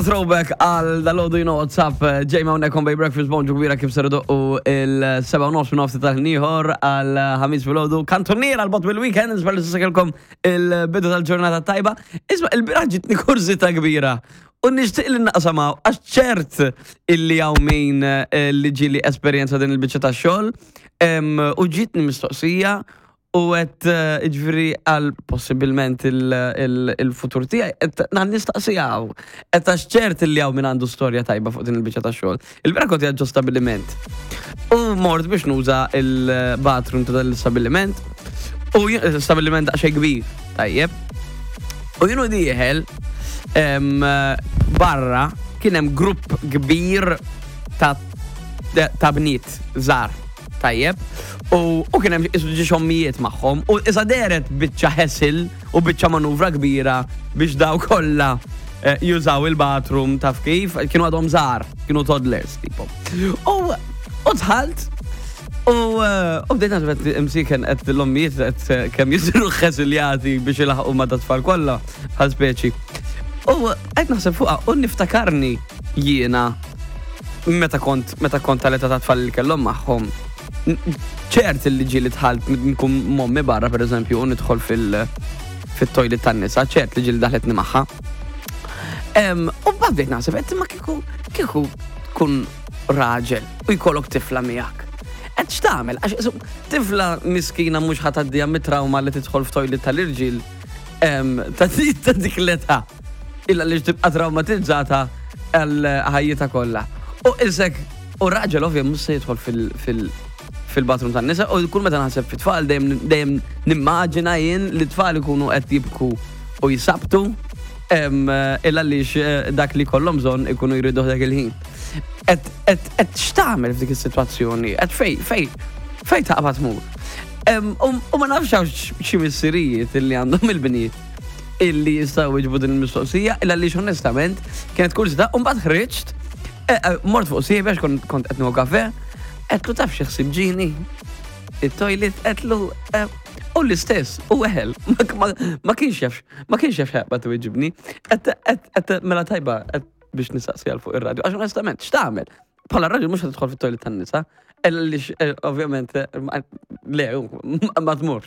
Throwback għal dal-ħodu you know what's up, ġej ma' unnekom Bay Breakfast bonġu kbira kif ser doqqu il-7 nofs minn nofsi tal-ħniħor għal ħamis fil-ħodu. Kantoniera għal bot bil-weekend, nisper li s-sakelkom il-bidu tal-ġurnata tajba. Isma, il-bira ġitni kurzita kbira. U nixtieq li naqsamaw, għax ċert illi hawn min eh, li ġili esperjenza din il-biċċa tax-xogħol u ġitni mistoqsija U għet eh, ġviri għal possibilment il-futur tijaj, għet nan nistaqsijaw. Għet għax ċert li għaw minn għandu storja tajba fuq din il-bicċa ta' xogħol. Il-vera kont ġo stabiliment. U mort biex nuża il-bathroom ta' dal-stabiliment. U stabiliment daqsxejn kbir, tajjeb. U jienu dieħel barra kien hemm grupp kbir ta' ta' bniet żgħar. Tajjeb. U, u kien hemm isu ġiex ommijiet magħhom u isa deret biċċa ħesil u biċċa manuvra kbira biex daw kollha eh, jużaw il-bathroom taf kif, kienu għadhom żgħar, kienu toddlers tipo. U u dħalt u eh, u bdejt naħseb qed imsiken qed l-ommijiet qed eh, kemm jisiru ħesiljati biex ilaħqu ma' tfal kollha bħal speċi. U qed naħseb fuqha u niftakarni jiena meta kont meta kont tal-età ta' tfal li kellhom magħhom ċert li ġieli dħalt nkun mommi barra pereżempju u nidħol fil fit-toilet tan-nisa, ċert li ġieli daħletni magħha. U bdejt naħseb qed ma kieku kieku tkun raġel u jkollok tifla miegħek. Qed x'tagħmel? Għax tifla miskina mhux ħa tgħaddiha mit-trauma li tidħol f'toilet tal-irġiel ta' dik l-età. Illa li tibqa' traumatizzata għal ħajjitha kollha. U isek, u raġel ovvja mhux se jidħol fil-bathroom tan-nisa u kull meta naħseb fit-tfal dejjem nimmaġina jien li tfal ikunu qed jibku u jisabtu illa għaliex eh, dak li kollhom bżonn ikunu jridu dak il-ħin. Et x'tagħmel f'dik is-sitwazzjoni? Et fej, fej, fej taqbad mur. U ma nafx hawn xi missirijiet illi għandhom il-bniet illi jistgħu jiġbu din il-mistoqsija, illa li onestament kienet kurzita, u mbagħad ħriġt, eh, eh, mort fuq sieħbi għax kont qed nieħu kafe, qedlu taf xi ħsieb ġini, it-toilet qedlu eh, u l-istess, u weħel, ma kienx jaf, ma kienx jaf xaqba tweġibni, qed mela tajba biex nistaqsi għal fuq ir-radju, għax onestament, x'tagħmel? Bħala raġel mhux tidħol fit-toilet tan-nisa, illa li ovvjament le, ma tmurx.